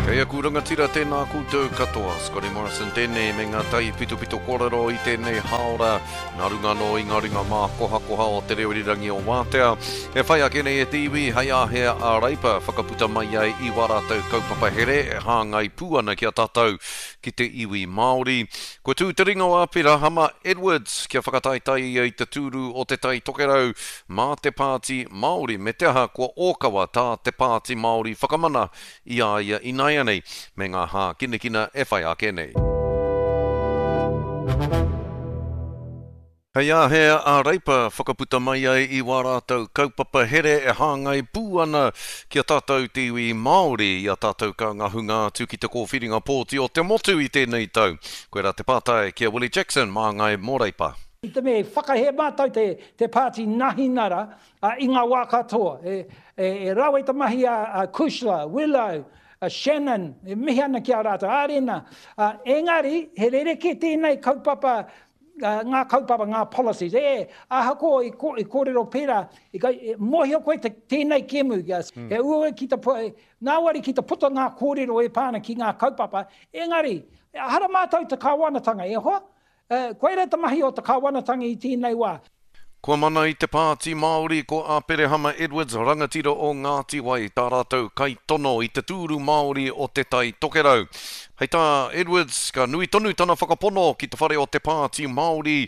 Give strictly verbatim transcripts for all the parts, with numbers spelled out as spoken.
Kei aku rangatira tēnā koutou katoa. Scotty Morrison tēnei me ngā tai pitopito kōrero i tēnei haora. Nā runga anō i ngā ringa mākohakoha o te reo irirangi o Wātea. E whai ake nei e te iwi hei āhea a Reipa whakaputa mai ai i wā rātou kaupapa here e hāngai pū ana ki a tātou ki te iwi Māori. Kua tū te ringa o Aperahama Edwards kia whakataetae ia i te tūru o te Tai Tokerau mā te Pāti Māori me te aha kua ōkawa tā te Pāti Māori whakamana i a ia ināianei me ngā hākinakina e whai ake nei. Hei āhea a Reipa whakaputa mai ai i wā rātou kaupapa here e hāngai pū ana ki a tātou te iwi Māori i a tātou ka ngahunga atu ki te kōwhiringa pōti o te motu i tēnei tau. Koirā te pātai ki a Willie Jackson māngai mō Reipa. I te mea, whakahē mātou te, te pāti Nahinara uh, i ngā wā katoa. E, e, e rawe te mahi a, a Cushla, Willow, a Shannon, e mihi ana ki a rātou, Arena. Uh, engari, he rerekē tēnei kaupapa, uh, ngā kaupapa, ngā policies. E, ahakoa i, ko, i kōrero pērā, i, i, mōhio koe te, tēnei kēmu, mm. he uaua ki te, ngāwari ki te puta ngā kōrero e pā ana ki ngā kaupapa, engari, hara mātou te kāwanatanga, e hoa? Uh, koira te mahi o te kāwanatanga i tēnei wā. Kua mana i te Pāti Māori ko Aperehama Edwards rangatira o Ngāti Wai tā rātou kaitono i te tūru Māori o te Tai Tokerau. Hei tā Edwards, ka nui tonu tana whakapono ki te whare o te Pāti Māori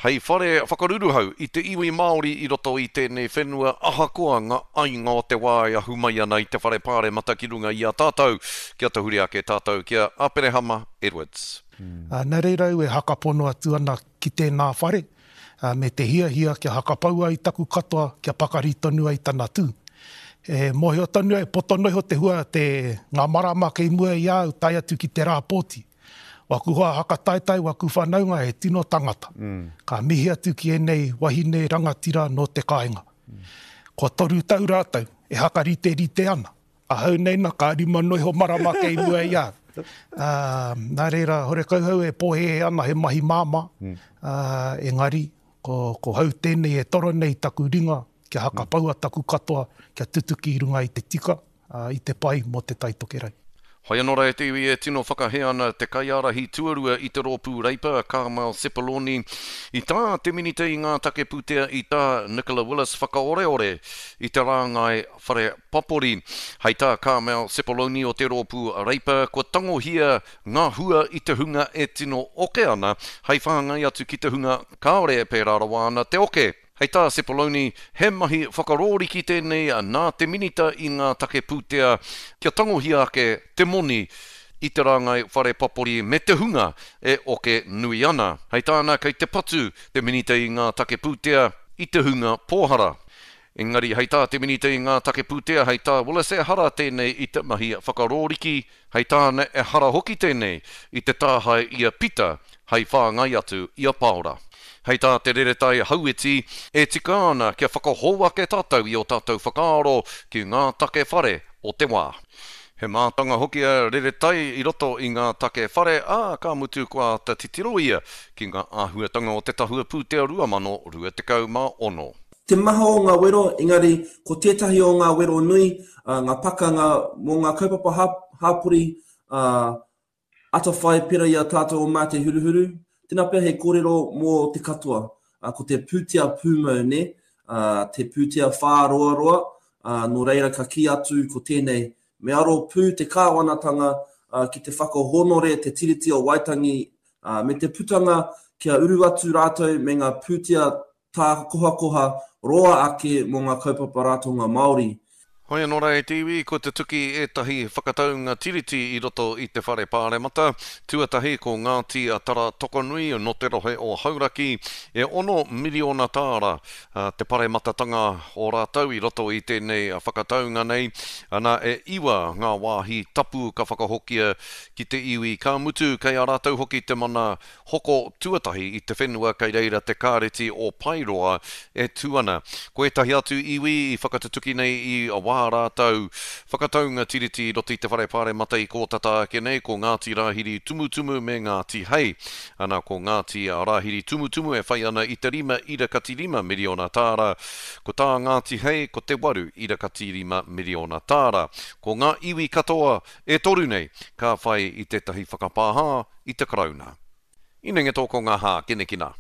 hei whare whakaruruhau i te iwi Māori i roto i tēnei whenua ahakoa ngā ainga o te wā e ahu mai ana i te whare pāremata ki runga i a tātou. Kia tahuri ake tātou ki a Aperehama Edwards. Mm. Uh, nā reira au e hakapono atu ana ki tēnā whare, uh, me te hiahia kia hakapaua i taku katoa, kia pakari tonu ai tana tū. E mōhio tonu ai, poto noa iho te hua te ngā marama kei mua i a au tae atu ki te rā pōti. Waku hoa hakataetae, waku whanaunga he tino tangata. Mm. Ka mihi atu ki ēnei wahine rangatira nō te kāinga. Mm. Kua toru tau rātou e hakariterite ana. Ahau nei na ka rima noa iho marama kei mua i a au. Uh, nā reira, horekau hau e pōhēhē ana he mahi māmā, mm. uh, engari, ko, ko hau tēnei e toro nei taku ringa, kia hakapaua taku katoa, kia tutuki i runga i te tika, uh, i te pai mō te Tai Tokerau. Hoi anō rā e te iwi e tino whakahē ana te kaiārahi tuarua i te rōpū Reipa, Carmel Sepuloni, i tā te minita i ngā take pūtea i tā Nicola Willis whakaoreore i te rāngai whare papori. Hei tā Carmel Sepuloni o te rōpū Reipa, kua tangohia ngā hua i te hunga e tino oke ana, hei whāngai atu ki te hunga kāore e pērā rawa ana te oke. Hei tā Sepuloni, he mahi whakarōriki tēnei nā te minita i ngā take pūtea kia tangohia ake te moni i te rāngai whare papori me te hunga e oke nui ana. Hei tāna, kei te patu te minita i ngā take pūtea i te hunga pōhara. Engari, hei tā te minita i ngā take pūtea, hei tā Willis e hara tēnei i te mahi whakarōriki, hei tāna e hara hoki tēnei i te tāhae i a Pita, hei whāngai atu i a Paora. Hei tā te reretai hauiti, e tika ana kia whakahou ake tātou i o tātou whakaaro ki ngā take whare o te wā. He mātanga hoki a reretai i roto i ngā take whare, ā, ka mutu kua āta titiro ia ki ngā āhuatanga o te tahua pūtea rua mano rua tekau mā ono. Te maha o ngā wero, engari ko tētahi o ngā wero nui, uh, ngā pakanga mō ngā kaupapa hāpori, uh, atawhai pera i a tātou o Mā Te Huruhuru. Tēnā pea he kōrero mō te katoa. Uh, ko te pūtea pūmau, ne? Uh, te pūtea whāroaroa, uh, nō reira ka kī atu ko tēnei. Me aro pū te kāwanatanga uh, ki te whakahōnore te Tiriti o Waitangi uh, me te putanga kia uru atu rātou me ngā pūtea tā kohakoha roa ake mō ngā kaupapa ratonga Māori. Hoi anō rā e te iwi, ko te tuki ētahi whakataunga tiriti i roto i te whare pāremata. Tuatahi ko Ngāti Tara Tokonui nō te rohe o Hauraki, e ono miriona tāra te parematatanga o rātou i roto i tēnei whakataunga nei. Ana e iwa ngā wāhi tapu ka whakahokia ki te iwi. Ka mutu kei a rātou hoki te mana hoko tuatahi i te whenua kei reira te kāreti o Paeroa e tū ana. Ko ētahi atu iwi i whakatutuki nei i wā ā rātou whakataunga tiriti i roto i te Whare Pāremata i kō tata ake nei, ko Ngāti Rāhiri Tumutumu me Ngāti Hei. Ana, ko Ngāti Rāhiri Tumutumu e whai ana i te rima ira kati rima miriona tāra, ko tā Ngāti Hei ko te waru ira kati rima miriona tāra. Ko ngā iwi katoa e toru nei ka whai i tētahi whakapāha i te Karauna. Inenge tō ko ngā hākinakina.